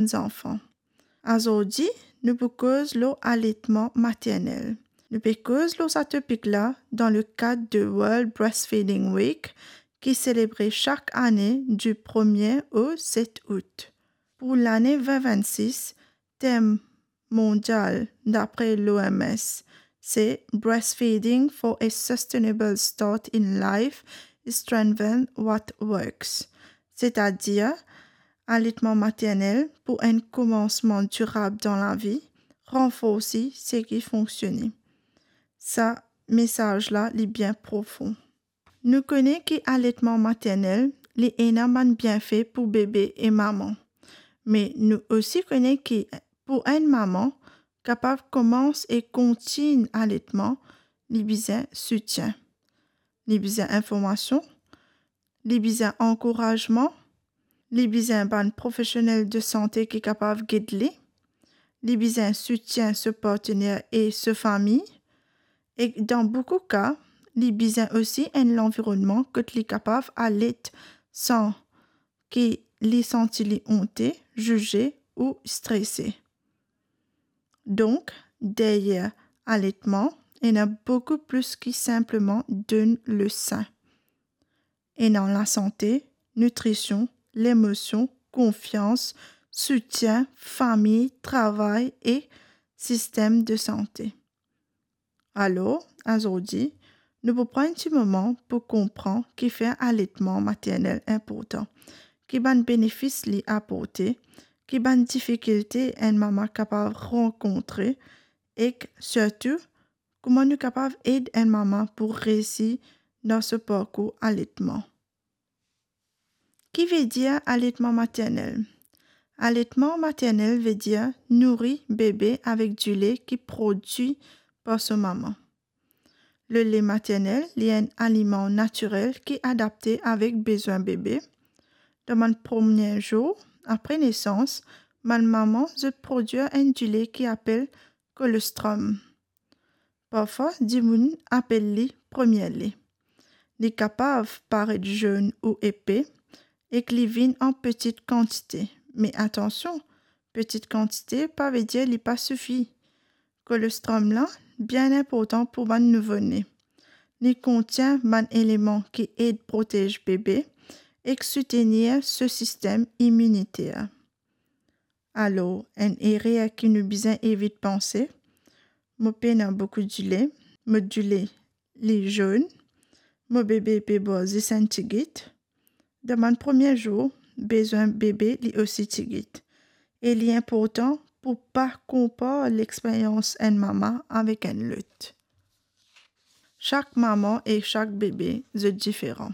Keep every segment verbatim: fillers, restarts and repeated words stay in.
zanfan. Azordi, nou pou koz lor aletman maternel. Nou pe koz lor sa topik la dan le kad de World Breastfeeding Week, ki selebre sak ane di premie o set out. Pou lane vin vinn sis, tem mondial, dapre l'O M S, se Breastfeeding for a Sustainable Start in Life, Strengthen What Works, setadir aletman maternel pou enn komansman dirab dan lavi, ranforsi seki fonksione. Sa mesaz la, li bien profon. Nou kone ki aletman maternel, li ena bann bienfe pou bebe e mama. Me nou osi kone ki pou enn mama kapav komans e kontign aletman, li bizin soutien. Li bizin informasion, li bizin ankourazman, li bizin bann profesionel de sante ki kapav gid li, li bizin soutien so partner e so fami, e dan boukou ka, li bizin osi enn lanvironnman kot li kapav alet san ki li santi li onte, zize ou strese. Donk, deryer aletman, ena boukou plis ki sinpleman donn le sin. Ena lasante, nitrision, lemosion, konfians, soutien, fami, travay e sistem de sante. Alor, azordi, nou pou pran enn ti moman pou konpran kifer aletman maternel inportan, ki bann benefis li aporte, ki bann difikilte enn mama kapav rankontre, ek sirtou, kouma nou kapav ed enn mama pou reisi dan so parkour aletman. Ki vedir aletman maternel? Aletman maternel vedir nouri bebe avek dile ki prodwi par so mama. Lele maternel, li enn aliman natirel ki adapte avek bezwin bebe. Dan bann premie zour apre nesans, bann mama zot prodwir enn dile ki apel kolostrom. Parfwa, dimoun apel li premie le. Li kapav paret zonn ou epe ek li vinn an peti kantite. Me atansion, peti kantite pa vedir li pa sifi. Kolostrom la bien inportan pou bann nouvo-ne. Li kontien bann eleman ki ed protez bebe ek soutenir so sistem iminiter. Alor, enn erer ki nou bizin evit panse, mo pena boukou dile, mo dile li zonn, mo bebe pe bwar zis enn tigit. Dan bann premie zour, bezwin bebe li osi tigit. E li inportan pou pa konpar lexperyans enn mama avek enn lot. Sak mama e sak bebe, zot diferan.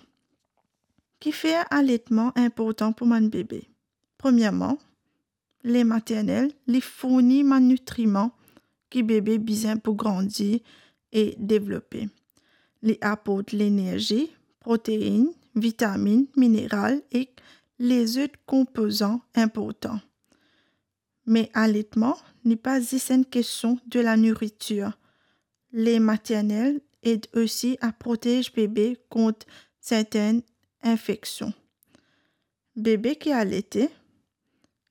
Kifer aletman inportan pou bann bebe? Premierman, le maternel, li fourni bann nitriman ki bebe bizin pou grandi e devlope. Li aport lenerzi, protein, vitaminn, mineral ek lezot konpozan inportan. Me aletman, li pa zis enn kestion de la nouritir. Le maternel ed osi a protez bebe kont sertenn infeksion. Bebe ki alete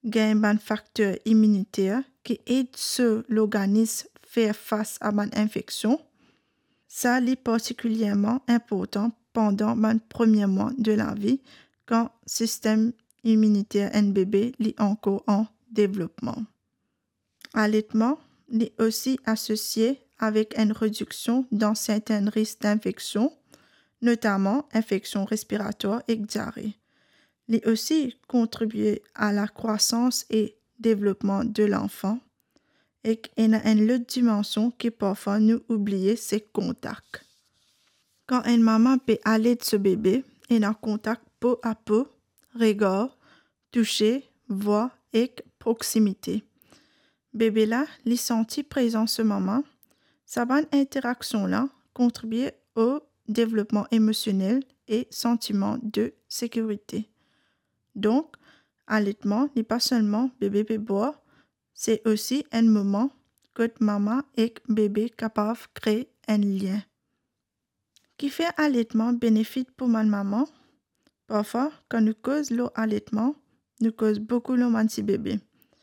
gagn bann fakter iminiter ki ed so lorganis fer fas a bann infeksion. Sa li partikilerman inportan pandan bann premie mwa de lavi, kan sistem iminiter enn bebe li ankor an devlopman. Aletman li osi asosie avek enn rediksion dan sertenn risk dinfeksion, notaman infeksion respiratwar ek diare. Li osi kontribie a lakrwasans e devlopman de lanfan, ek ena enn lot dimansion ki parfwa nou oubliye, se kontak. Kan enn mama pe alet so bebe, ena kontak po a po, regar, touse, vwa ek proksimite. Bebe la, li santi prezans so mama. Sa bann interaksion la kontribie o devlopman emosionel e santiman de sekirite. Donk, aletman, li pa selman bebe pe bwar, se osi enn moman kot mama ek bebe kapav kre enn lien. Kifer aletman benefik pou bann mama? Parfwa, kan nou koz lor aletman, nou koz boukou lor bann ti bebe.